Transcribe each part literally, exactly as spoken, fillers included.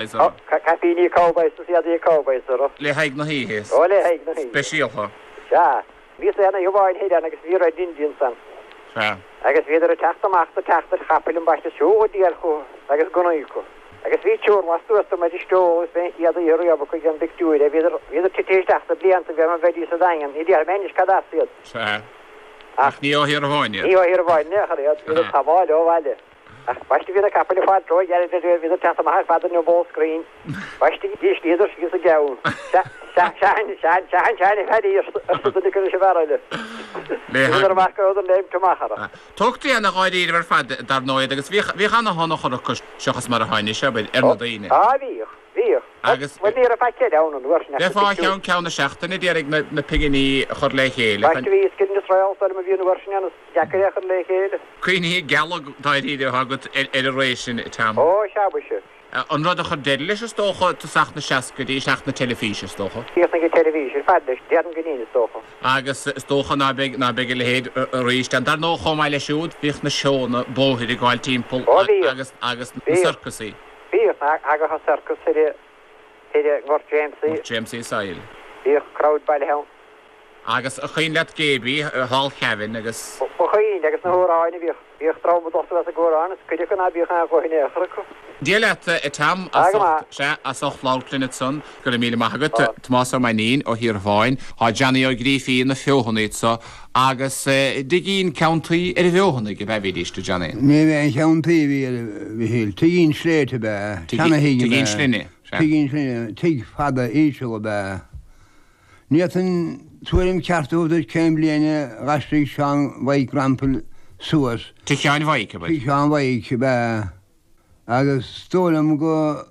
Ó, caipíní cowboys is éadaí cowboys orthu. Le haghaidh na hoíche. Ó, le haghaidh na hoíche. Speisialta. Sea. Bhíos aon oíche amháin thoir ann agus bhí Red Indians ann. Sea. Agus bhíodar ag teacht amach do teacht ar chapaill ambaiste is siúl go diail chucu agus gunnaí acu. Agus bhí triúr lastuas de muid isteach agus b'é an chéad oíche riamh acu ag déanamh pictiúir. Bhíodar, bhíodar tite isteach sna blianta bhí orm a bheidís sa Daingean. Ní déarfaidh mé anois cad as iad. Sea. Ach ní ó Thír Eoghain iad. Ní ó Thír Eoghain in aon chor iad. Bhíodar tamall ó bhaile. Ach baiste bhí na capaill ag fáil róghairid idir bhíodar ag teacht amach ar fad ar an bhfál scrín. Baiste dhíslíodar síos an gceann. Seachain, seachain, seachain, seachain a Phaddy, arsa duine acu leis an bhfear eile. Bhíodar amach go rabhadar léimt amach orthu. Tógtaí ana dháiríribh ar fad dar ndóigh iad agus bhíodh, bhíodh ana thionchar acu seachas mar atá anois, abair, ar na daoine. Á bhíodh, bhíodh. Agus. Bhuel ní raibh faic eile ann an uair sin ach na Bheifeá pictiúir. cheann ceann na seachtaine d'iarraidh na, na pinginí a chur le chéile chun. Baiste bhí scil is réalt orm a bhí an uair sin ann is deacair é a chur le chéile. Cuimhní geala dáiríre atá agat ar ar an ré sin, Tom. Ó, sea, mhuise. An rud a chuir deireadh leis, is dócha, tosach na seascaidí, teacht na teilifíse, is dócha. Chríochnaigh an teilifís ar fad leis, déarfainn go deimhin, is dócha. Agus is dócha ná beidh, ná beidh a leithéid arís ann. Dar ndóigh, chomh maith leis siúd, bhíodh na seónna bóthair ag gabháil timpeall Ó, bhíodh. agus, agus na Bhíodh. sorcasaí. Bhíodh. Thagadh an sorcas thoir i, thoir i nGort Jamesie. Gort Jamesie Sail. Bhíodh crowd bailithe ann. Agus an cuimhin leat Gaby thall Cavan agus. Ba chuimhin, agus na hamhráin a bhíodh, bhíodh dream ag dul suas ag amhráin is cuid acu ná bíodh aon ghuth in aon chor acu. Dia leat, a Tom, Á, as go ucht, maith. sea, as ucht labhairt linn ansan. Go raibh míle maith agat. Tomás Ó Mainnín ó Thír Bháin. Tá Johnny Ó Grífín na Feothanaigh anso agus dtigín ceann tuí ar an bhFeothanaigh ab ea bhídís, a Johnny? Ní bheith aon cheann tuí a bhí ar Mhichíl. Tigín sléibhte ab ea, seana-thigh ab Tigín ea. slinne, sea. Tigín slinne, tigh fada íseal ab ea. Ní fhéadfainn tuairim ceart a thabhairt duit cén bhliain a d'aistrigh Seán Mhaidhc Rampal suas. Tigh Sheáin Mhaidhc, ab ea? Tigh Sheáin Mhaidhc ab ea. Agus is dóigh liom go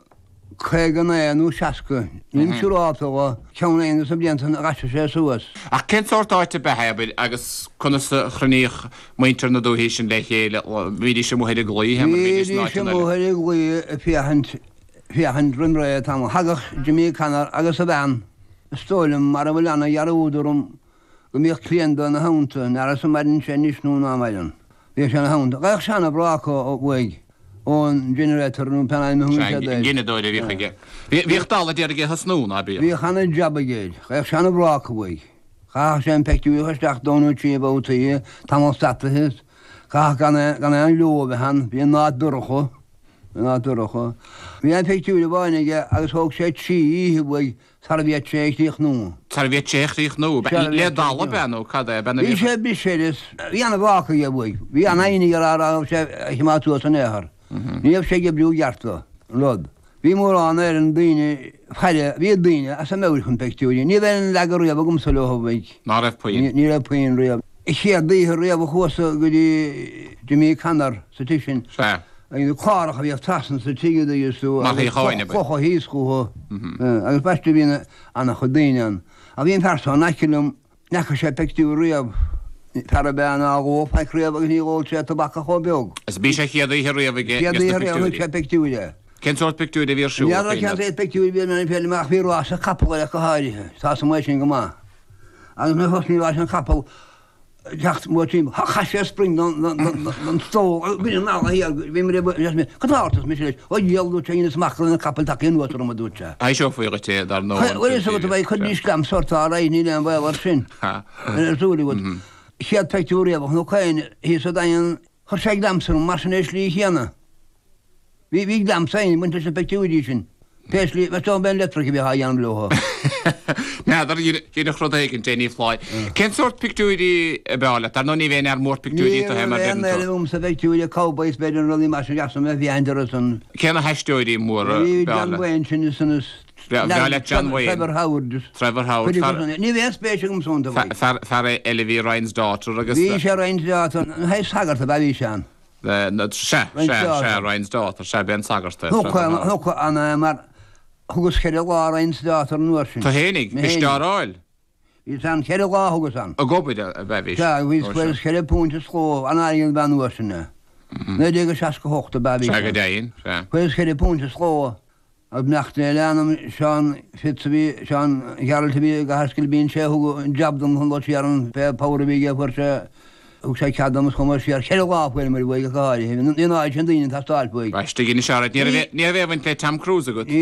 caoga naoi nó seasca, nílim siúrálta dho, ceann éigin de na blianta san a d'aistrigh sé suas. Ach cén sórt áite ab ea é, abair, agus conas a chruinníodh muintir na dúichí sin le chéile? Bhídís amuigh ar an gclaí, mar bhídís in Bhídís áiteanna eile? amuigh ar an gclaí ag féachaint, féachaint roim ré tamall. Thagadh Jimmy Connor agus a bhean. Is dóigh liom, mara bhfuil ana-dhearúd orm, go mbíodh cliaint ina theannta, n'fhearas an maireann sé anois nó ná maireann. Bhíodh sé ina theannta. Gheibheadh sé ana-bhráca uaidh, ón generator nó pé ainm a thugann Sea, siad an air. gineadóir a bhíodh aige. Bhíodh dalladh d'iarraidh é a thosnú, ná bíodh? Bhíodh ana-jab aige air. Gheibheadh sé ana-bhráca uaidh. Chaithfeadh sé an peictiúr a chur isteach dó nó trí babhtaí, tamall stataithe. Chaithfeadh gan gan aon leo a bheith ann. Bhí an áit dorcha. Bhí an áit dorcha. Bhí aon phictiúr amháin aige agus thóg sé trí oíche uaidh Sara bhféadfadh sé a chríochnú. Sara bhféadfadh sé a chríochnú. Le dalladh ab ea nó cad é? Bhí sé briseadh is bhí ana-bhráca aige uaidh. Bhí an-fhoighne aige a raibh sé a choimeád suas in aon chor. Ní raibh sé ag oibriú i gceart dó, an rud. Bhí mórán ar an daoine faire, bhí daoine as a meabhair chun peictiúirí. Ní raibh aon leagadh riamh agamsa leo uaidh. Ná raibh puinn. Ní raibh puinn riamh. An chéad oíche riamh a chuas-sa go dtí Jimmy Connor sa tigh sin. Sea. Agus cláracha a bhíodh trasna sa tigh a dtuigeas tú Mar agus shuíocháin, ab ea? clocha thíos chucu. Agus baiste bhí ana-chuid daoine ann. Ach bhí an fear so in aice liom, ní fhaca sé peictiúr riamh, fear ab ea ná dh'ól faic riamh agus ní dh'ól sé tobac ach chomh beag. Is b'í sé chéad oíche riamh aige Chéad ges na oíche riamh a chonaic pictiúirí. sé peictiúir é. Cén sórt pictiúir a bhí ar siúl, Ní fheadar a cén Chaoimhe? sórt peictiúir a bhí ar an ach bhí rása capall air ach go háirithe. Tá 's amuigh sin go maith. Agus nuair a thosnaigh ráis an chapall, teacht mór timpeall. Chaith sé spring don stól agus bhain an eala thiar bhí mé ag Cad tá ort arsa mise leis. Ó dhiabhal dúirt sé dheineas amach go raibh na capaill tagtha anuas orm a dúirt sé. Eiseofaí dhuit é dar ndóigh. Bhuel is agat a bheidh cuid níos glam sort á raghaidh níl aon bhaol air sin. Ar súil agat. Chéad pictiúr riamh a chonac féin thíos sa Daingean chuir sé glamsa orm mar sin ar an slí chéanna. Bhí bhí glamsa ag baint leis na peictiúirí sin. Pé slí, meas tú an b'é an leictreach a bhíodh á dhéanamh leo? N'fheadar, dhéanfadh rud éigin de, ní foláir. Cén sórt pictiúirí ab fhearr leat? Dar ndóigh ní bheinn fhear mór pictiúirí Ní tú féin mar raibh aon deireann tú. éileamh agamsa peictiúirí cowboys b'fhéidir nó rudaí mar sin deas a bheith féachaint orthu san. Cé na haisteoirí móra Bhí ab fhearr John leat? Wayne sin is san is Bhreá leat John Wayne. Trevor Howard is. Trevor Howard, Cuid fear. acu san. Ní bheadh aon spéis agamsa iontu. Fear fear eile bhí Ryan's Daughter agus. Bhí sé Ryan's Daughter, na haghaidh sagart ab ea bhí sé ann. Sea, sea, sea, Ryan's Daughter, sea, b'é an sagart é. Thiocfadh an é mar thugas ceithre lá Ryan's Daughter an uair sin. Tú fhéinig, Mé bhís fhéinig. á fháil? Bhíos ann, ceithre lá a thugas ann. Ag obair ab ea bhís? Sea, bhíos, Ó, fuaireas sea. ceithre púint is dhó, an-airgead ab ea an uair sin é. Naoi déag a seasca a hocht ab ea bhí Sea, go sé. deimhin, sea. Fuaireas ceithre púint is dhó. Agus beannacht Dé lena anam, Seán Fitz a bhí, Seán Ghearailt a bhí i gCathair Sceilpín, sé a thug an jab dom chun dul siar ann, pé power a bhí aige fuair sé Thug sé cead dom is chuamar siar ceithre lá fuaireamar uaidh go háirithe. Ní an áit sin daoine ag teastáil uaidh. Baisteadh anois agat, ní raibh ní raibh aon bhaint le Tom Cruise agat. Ní